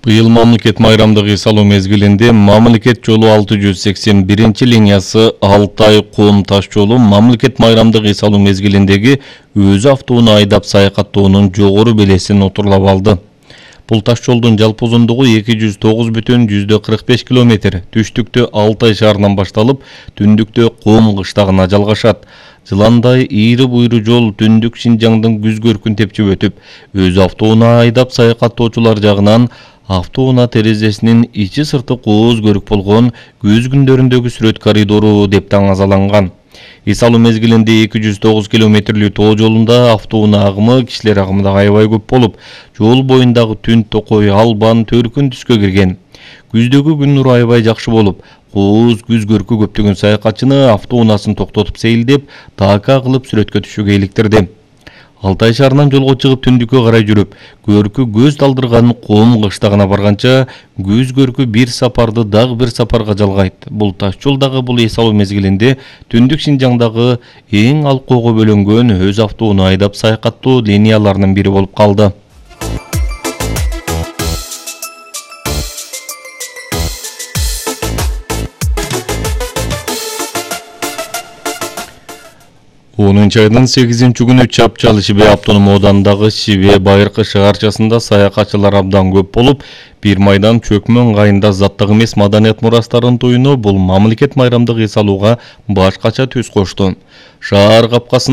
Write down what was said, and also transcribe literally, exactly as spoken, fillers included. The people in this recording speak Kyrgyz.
Быйыл мамлекет майрамдык эс алуу мезгилинде мамлекет жолу алты жүз сексен биринчи линиясы Алтай-Кум таш жолу мамлекет майрамдык эс алуу мезгилиндеги өзү автоунаа айдап саякаттоонун жогору белесин отурлап алды. Бул таш жолдун жалпы узундугу эки жүз тогуз бүтүн жүздөн кырк беш километр. Түштүктө Алтай шаарынан башталып, түндүктө Кум кыштагына жалгашат. Жыландай ийри буйру жол түндүк Шинжаңдын күз көркүн тепчип өтүп, өзү автоунаа айдап саякаттоочулар жагынан автоунаа терезесинин ичи сырты кооз көрүк болгон күз күндөрүндөгү сүрөт коридору деп таңазаланган. Эс алуу мезгилинде эки жүз тогуз километрлүү тоо жолунда автоунаа агымы кишилер агымында аябай көп болуп, жол боюндагы түн токой, албан, төркүн түскө кирген. Күздөгү күн нуру аябай жакшы болуп, кооз күз көркү көптөгөн саякатчыны автоунаасын токтотуп сейилдеп, дака кылып сүрөткө түшүүгө иликтирди. Алтай шаарынан жолго чыгып түндүккө карай жүрүп, көркү көз талдырган Кум кыштагына барганча, күз көркү бир сапарды дагы бир сапарга жалгайт. Бул таш жолдагы бул эс алуу мезгилинде түндүк Шинжаңдагы эң алкоого бөлөнгөн өз автоунаа айдап саякаттоо линияларынын бири болуп калды. онунчу айдын сегизинчи күнү Чапчал Шибе автоном оодандагы Шибе Байыркы шаарчасында саякатчылар абдан көп болуп, Бир майдан Чөкмөн ыңгайында заттык эмес маданият мурастарын туюну бул мамлекет майрамдык эс алууга башкача түс кошту. Шаар капкасында